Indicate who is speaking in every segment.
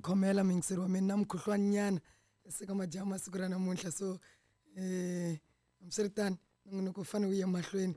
Speaker 1: khomela muyingiseri wa mina na mukhuhlwani nyana se ka majaha masiku ra namuntlha. So hambiswiritano nongonoko wu fanele wu ya mahlweni,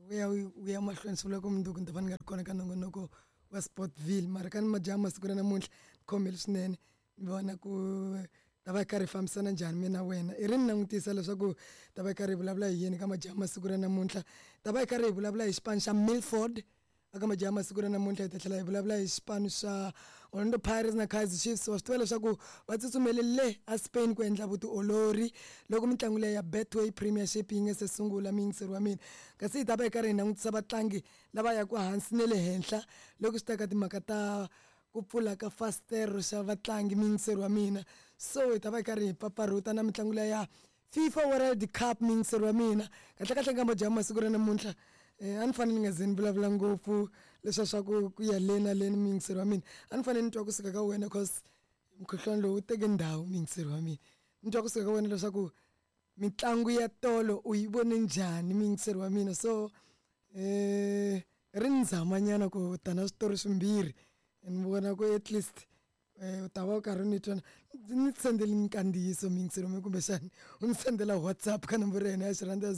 Speaker 1: wu ya wu ya mahlweni swi vula ku mundzuku ni ta va ni nga ri kona ka nongonoko wa Sportville. Mara ka ni majaha masiku ra namuntlha ni khomile swinene, ni vona ku ta va hi karhi hi fambisana njhani mina na wena. I ri ni langutisa leswaku ta va hi karhi hi vulavula hi yini ka majaha masiku ra namuntlha. Ta va hi karhi hi vulavula hi xipano xa Milford aka majaha masiku ra namuntlha, hi ta tlhela hi vulavula hi xipano xa Orlando Pirates na Kaizer Chiefs. Wa swi tiva leswaku va tsutsumele le a Spain ku endla vutiolori loko mitlangu leyi ya Betway Premiership yi nga se sungula, muyingiseri wa mina. Kasi hi ta va hi karhi hi langutisa vatlangi lava yaka hansi na le henhla loko swi ta ka timhaka ta ku pfula ka fasitere xa vatlangi, muyingiseri wa mina. So hi ta va hi karhi hi pfapfarhuta na mitlangu leyi ya FIFA World Cup, muyingiseri wa mina. Kahlekahle ka majaha masiku ra namuntlha a ni fanele ni nga ze ni vulavula ngopfu leswiya swa ku ya le na le ni muyingiseri wa mina. A ni fanele ni twa kusuka ka wena cause mukhuhlwani lowu wu teke ndhawu, muyingiseri wa mina. Ni twa kusuka ka wena leswaku mitlangu ya tolo u yi vone njhani, muyingiseri wa mina. So ri ni zama nyana ku ta na switori swimbirhi ni vona ku at least u ta va u karhi u ni twa. Ni sendeli nkandziyiso muyingiseri wa mina, kumbexani u ni sendela WhatsApp ka nomboro ya hina ya xirhundzu ya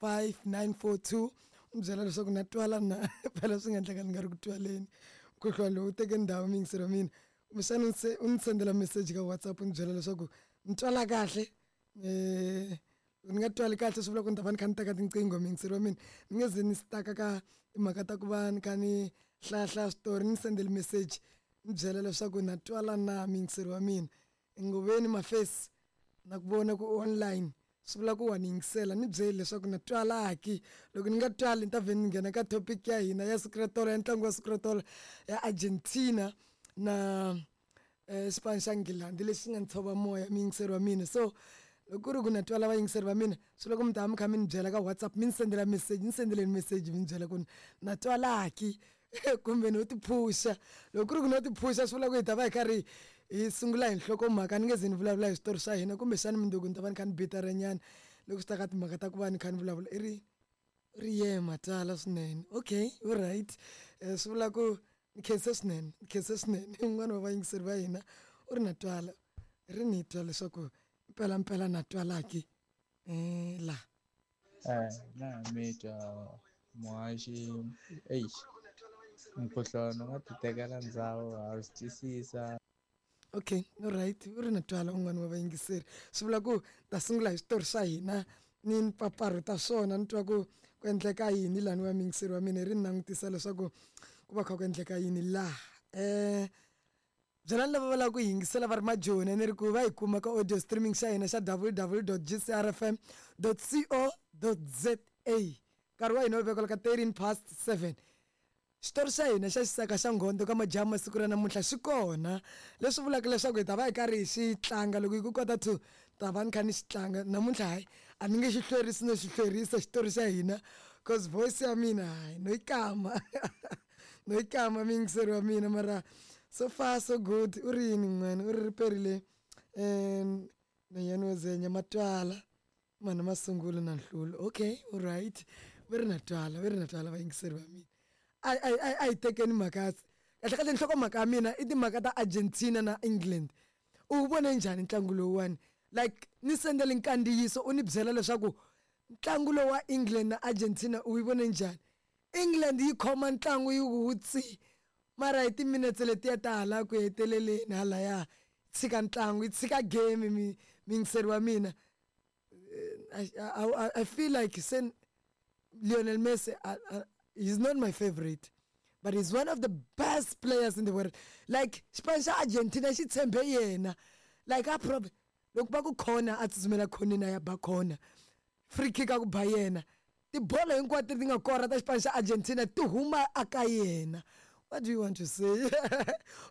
Speaker 1: 0608875942, u ni byela leswaku na twala na. Phela swi nga endleka ni nga ri ku twaleni, mukhuhlwani lowu wu teke ndhawu, muyingiseri wa mina. Kumbexana u ni sendela message ka WhatsApp u ni byela leswaku ni twala kahle. Ni nga twali kahle swi vula ku ni ta va ni kha ni teka tinqingho, muyingiseri wa mina. Ni nge ze ni stuck-a ka timhaka ta ku va ni kha ni hlayahlaya switori. Ni sendeli message ni byela leswaku na twala na, muyingiseri wa mina. Ngoveni Mafesi na ku vona ku online, swi vula ku wa ni yingisela. Ni byeli leswaku na twala ki. Loko ni nga twali ni ta vhe ni nghena ka topic ya hina ya siku ra tolo, ya ntlangu wa siku ra tolo ya Argentina na xipano xa Nghilandhi lexi nga ni tshova moya, muyingiseri wa mina. So loko ku ri ku na twala vayingiseri va mina, swi loko mi ta va mi kha mi ni byela ka WhatsApp, mi ni sendela message, ni sendeleni message mi ni byela ku na twala ki kumbe no tiphusha. Loko ku ri ku no tiphusha swi vula ku hi ta va hi karhi hi sungula hi nhlokomhaka, ni nge ze ni vulavula hi switori swa hina. Kumbexani mundzuku ni ta va ni kha ni bitaranyana loko swi ta ka timhaka ta ku va ni kha ni vulavula. I ri ri ye matala swinene. Okay, u right. Swi vula ku ni khense swinene, ni khense swinene. Un'wana wa vayingiseri va hina u ri na twala, ri ni twa leswaku mpela mpela na twala ki la.
Speaker 2: Na mi twa muhaxi, eish, mukhuhlwani u nga ti tekela ndzhawu ha swi twisisa.
Speaker 1: Okay, all right, u ri na twala un'wana wa vayingiseri. Swi vula ku ta sungula hi switori swa hina ni mpfapfarhuta swona, ni twa ku ku endleka yini lani wa muyingiseri wa mina. Ri ni langutisa leswaku ku va kha ku endleka yini laha. Byelani lava va lavaka ku yingisela va ri majoni ni ri ku va hi kuma ka audio streaming xa hina xa www.gcrfm.co.za. Nkarhi wa hina wu vekela ka 7:13. Xitori xa hina xa xisaka xa nghondo ka majaha masiku ra namuntlha xi kona, leswi vulaka leswaku hi ta va hi karhi hi xi tlanga loko hi ku kota 2 ta va ni kha ni xi tlanga namuntlha. Hayi, a ni nge xi hlwerisi no xi hlwerisa xitori xa hina cause voice ya mina hayi no yi kama, no yi kama, muyingiseri wa mina. Mara so far so good. U ri yini n'wana? U ri ri perile nhwanyana wo zenya matwala mana masungulo na nhlulo. Okay, all right, va ri na twala, va ri na twala vayingiseri va mina. A hi tekeni mhaka kahle kahle. Nhlokomhaka ya mina i timhaka ta Argentina na England. U wu vone njhani ntlangu lowuwani? Like ni sendele nkandziyiso u ni byela leswaku ntlangu lowu wa England na Argentina u yi vone njhani. England yi khoma ntlangu yi wu tsi, mara hi timinetse letiya ta hala ku heteleleni halaya tshika ntlangu, yi tshika game, muyingiseri wa mina. I feel like sen Lionel Messi, he's not my favorite, but he's one of the best players in the world. Like xipano xa Argentina xi tshembe yena. Like a prob loko va ku khona a tsutsumela khoneni a ya ba khona, free kick a ku ba yena, tibolo hinkwato ti nga kora ta xipano xa Argentina ti huma aka yena. What do you want to say? U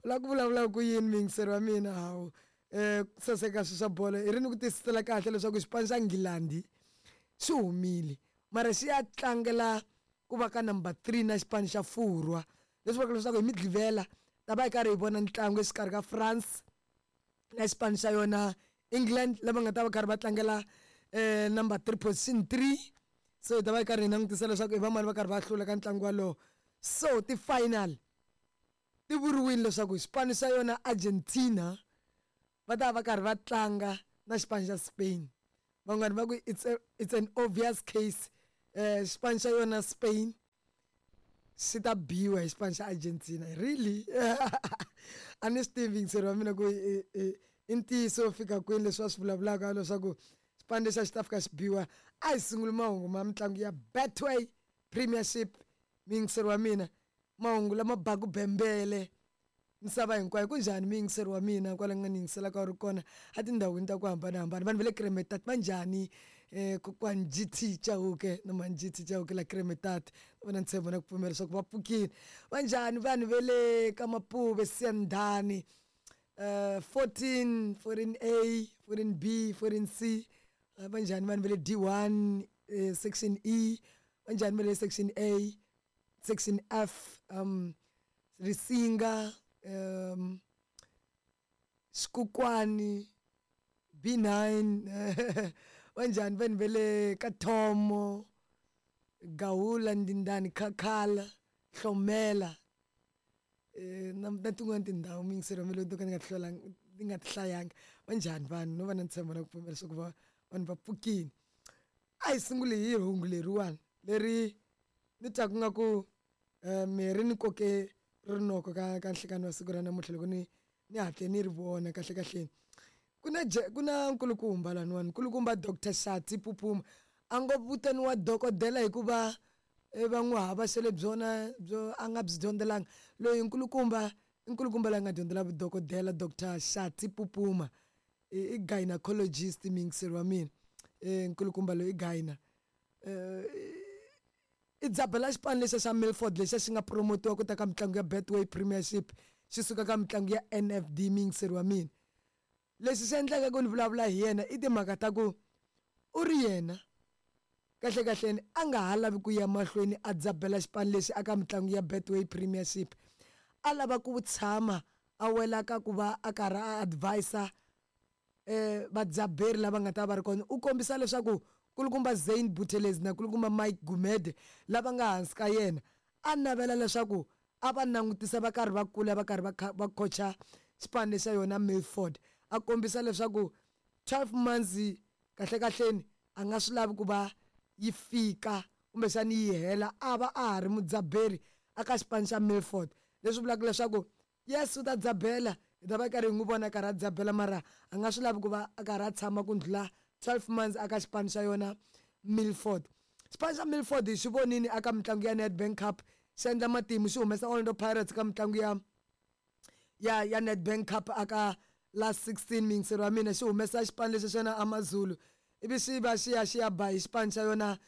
Speaker 1: lava ku vulavula ku yini, muyingiseri wa mina? Hawu, ku saseka swi swa bolo i ri ni ku tisisela kahle leswaku xipano xa Nghilandhi xi humile, mara xi ya tlangela ku va ka number 3 na xipano xa Furwa, leswi vulaka leswaku hi Mugqivela ta va hi karhi hi vona ntlangu exikarhi ka France na xipano xa yona England, lava nga ta va karhi va tlangela number 3, position 3. So hi ta va hi karhi hi langutisa leswaku i vamani va karhi va hlula ka ntlangu walowo. So ti-final Ti vuriwile leswaku xipano xa yona Argentina va ta va karhi va tlanga na xipano xa Spain. Van'wani va ku it's an obvious case, xipano xa yona Spain xi ta biwa hi xipano xa Argentina. Really, a ni swi tivi yingiseri wa mina ku i ntiyiso wo fika kwini leswi va swi vulavulaka leswaku xipano lexi a xi ta fika xi biwa. A hi sunguli mahungu ma mitlangu ya Betway Premiership, muyingiseri wa mina, mahungu lama baku bembele misava hinkwayo. Ku njhani muyingiseri wa mina kwala nga ni yingiselaka u ri kona etindhawini ta ku hambanahambana? Vanhu va le Kremetat va njhani? Kokwani GT Chauke na mhani GT Chauke la Kremetat, va na ntshembo na ku pfumela leswaku va pfukile. Va njhani vanhu va le ka Mapuve, Siyandhani, 14, 14A, 14B, 14C? Va njhani vanhu va le D1, section E? Va njhani va le section A, section F, Risinga, Xikukwani, B9? Va njhani vanhu va le ka Thomo, Gawula, Ndindani, Khakhala, Hlomela, na tin'wani tindhawu, muyingiseri wa mina, leti to ka ni nga ti hlwelanga, ni nga ti hlayanga? Va njhani vanhu? No va na ntshembo na ku pfumela leswaku va vanhu va pfukile. A hi sunguli hi hungu leriwani leri ni twaku nga ku mirhi ni koke rinoko ka nhlekani wa siku ra namuntlha loko ni hatle ni ri vona. Kahle kahleni, ku na nkulukumba laniwani, nkulukumba Dr Shati Pupuma, a ngo vitaniwa dokodela hikuva va n'wi havaxele byona byo a nga byi dyondzelanga. Loyi nkulukumba i nkulukumba loyi a nga dyondzela vudokodela. Dr Shati Pupuma i gynecologist, muyingiseri wa mina. Nkulukumba loyi i gyna, i dzabela xipano lexiya xa Milford lexiya xi nga promotiwa ku ta ka mitlangu ya Betway Premiership xi suka ka mitlangu ya NFD. Muyingiseri wa mina, leswi swi endlaka ku ni vulavula hi yena i timhaka ta ku u ri yena kahle kahleni a nga ha lavi ku ya mahlweni a dzabela xipano lexi aka mitlangu ya Betway Premiership. A lava ku tshama a wela ka ku va a karhi a advisor vadzaberi lava nga ta va ri kona. U kombisa leswaku kulukumba Zane Buthelezi na kulukumba Mike Gumede lava nga hansi ka yena, a navela leswaku a va langutisa va karhi va kula, va karhi va coacha xipano lexa yona Milford. A kombisa leswaku 12 months kahle kahleni a nga swi lavi ku va yi fika kumbexani yi hela a va a ha ri mudzaberi aka xipano xa Milford, leswi vulaka leswaku yes, u ta dzabela, hi ta va karhi hi n'wi vona karhi a dzabela, mara a nga swi lavi ku va a karhi a tshama ku ndlula 12 months aka xipano xa yona Milford. Xipano xa Milford hi xi vonini aka mitlangu ya Nedbank Cup xi endla matimu, xi humesa Orlando Pirates ka mitlangu ya Nedbank Cup aka last 16. Miyingiseri wa mina, xi humesa xipano lexi xona Amazulu, ivi xi va xi ya ba hi xipano xa yona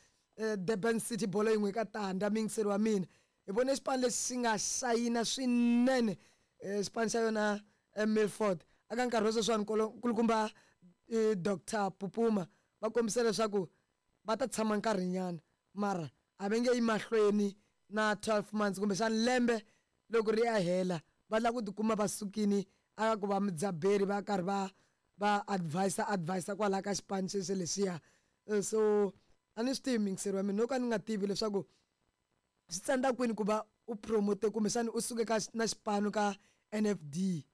Speaker 1: Durban City bolo yin'we ka tandza. Miyingiseri wa mina, hi vone xipano lexi xi nga xayina swinene, xipano xa yona Milford. Aka nkarhi wa sweswiwani, nkulukumba Dr Pupuma va kombisa leswaku va ta tshama nkarhinyana, mara a va nge yi mahlweni na 12 months, kumbexana lembe loko ri ya hela va lava ku tikuma va sukini aka ku va mudzaberi, va karhi va advisor kwalaha ka xipano xexo lexiya. So a ni swi tivi, muyingiseri wa mina, no ka ni nga tivi leswaku swi tsandza kwini ku va u promote kumbexana u suke ka na xipano ka NFD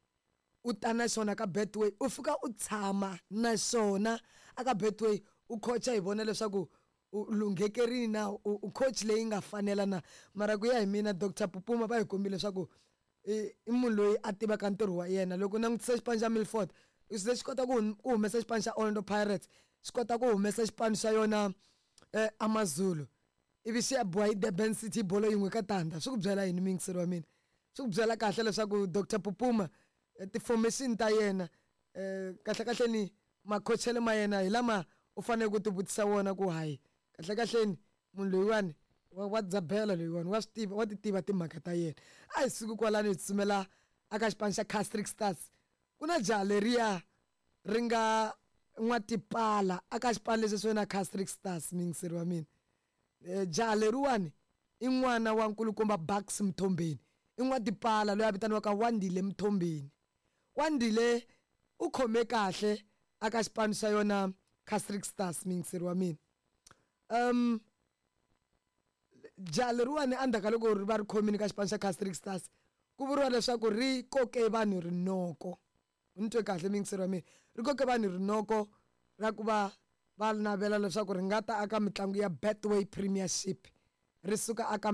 Speaker 1: u ta na xona ka Betway, u fika u tshama na xona aka Betway, u coacha, hi vona leswaku u lunghekerini na u coach leyi nga fanela na. Mara ku ya hi mina, Dr Pupuma va hi kombile leswaku i munhu loyi a tivaka ntirho wa yena. Loko u langutisa xipano xa Milford, se xi kota ku humesa xipano xa Orlando Pirates, xi kota ku humesa xipano xa yona Amazulu, ivi xi ya biwa hi Durban City bolo yin'we ka tandza. Swi ku byela yini, muyingiseri wa mina? Swi ku byela kahle leswaku Dr Pupuma, ti-formation ta yena, kahle kahle ni makhochelo ma yena hi lama u fanele ku ti vutisa wona ku hayi, kahle kahleni munhu loyiwani wa dzabela, loyiwani wa swi tiva, wa ti tiva timhaka ta yena. A hi suki kwalano, hi tsutsumela aka xipano xa Casric Stars. Ku na jaha leriya ri nga n'watipala aka xipano lexi xo na Casric Stars. Muyingiseri wa mina, jaha leriwani i n'wana wa nkulukumba Bucks Mthombeni, i n'watipala loyi a vitaniwaka Wandile Mthombeni. Wandile u khome kahle aka xipano xa yona Casric Stars. Muyingiseri wa mina, jaha leriwani endzhaku ka loko ri va ri khomile ka xipano xa Casric Stars Ku vuriwa leswaku ri koke vanhu rinoko. U ni twe kahle muyingiseri wa mina, ri koke vanhu rinoko ra ku va va navela leswaku ri nga ta aka mitlangu ya Betway Premiership ri suka aka.